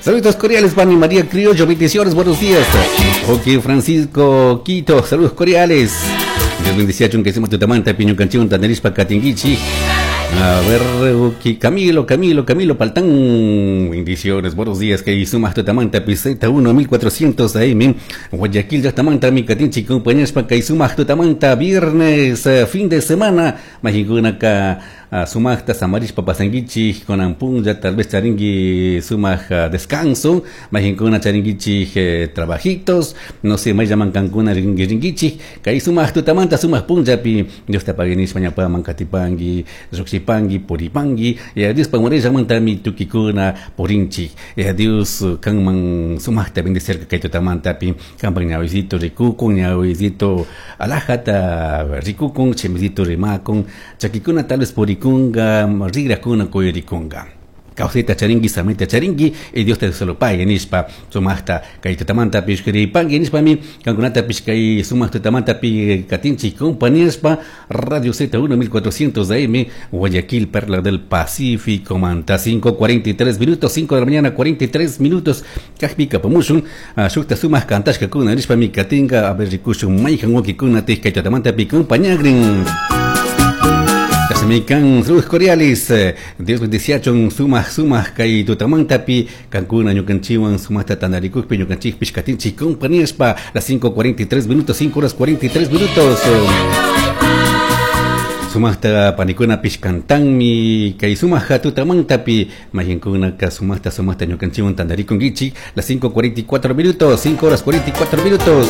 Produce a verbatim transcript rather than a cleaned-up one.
Saludos cordiales, Pani María Criollo, bendiciones, buenos días. Ok, Francisco Quito, saludos cordiales. Dios bendice que hicimos tutamanta, piño canción, tandarispa, katinguichi. A ver, ok, Camilo, Camilo, Camilo Paltán. Bendiciones, buenos días, que sumas tutamanta, piseta uno, mil cuatrocientos A M. Guayaquil, ya tamanta, mi katinchi, compañeros, pa kay sumas tutamanta, viernes, eh, fin de semana. Majikuna ka sumajta samarishpa pasanguichik kunan punlla, tal vez charingi sumaj descanso, majinkuna charinguichik eh, trabajitos, no sé, mayllaman kankuna ringi ringuichik, kay sumaj tutamanta, sumaj punllapi Dios te pague nishpa ñapaman katipangi, llukshipangi, puripangi, y Dios pamurillamantami tukikuna purinchik. Y Dios kanman sumajta bendecir kay tutamantapi, kanpak ñawisito rikukun, ñawisito alajata rikukun, chimisito rimakun, chakikuna tal vez purikunga, rigrakuna kuyurikunga, kawsayta charingi, samayta charingi, y Dios te solo pague nishpa sumajta kay tutamanta pishkiripangi nishpami kankunata kay sumaq tutamanta pi katinchik compañíaspa Radio Z uno mil cuatrocientos A M, Guayaquil, Perla del Pacífico manta. cinco cuarenta y tres minutos, cinco de la mañana cuarenta y tres minutos. Kajpi kapamushun shukta sumaq kantashkakuna nishpami katinga. A ver, rikushun mayhan wawkikuna kay tutamanta pi compañagrin. Kasmikan, saludos cordiales. Dios bendeciachun sumaj sumaj kay tutamantapi kankuna ñukanchiwan sumajta tandarikukpi ñukanchikpish katinchik compañíaspa. Las cinco cuarenta y tres minutos, cinco horas cuarenta y tres minutos. Sumajta panikunapish kantanmi kay sumaq tutamantapi, mayankunaka sumajta sumajta ñukanchiwan tandarikunkichik. Las cinco cuarenta y cuatro minutos, cinco horas cuarenta y cuatro minutos.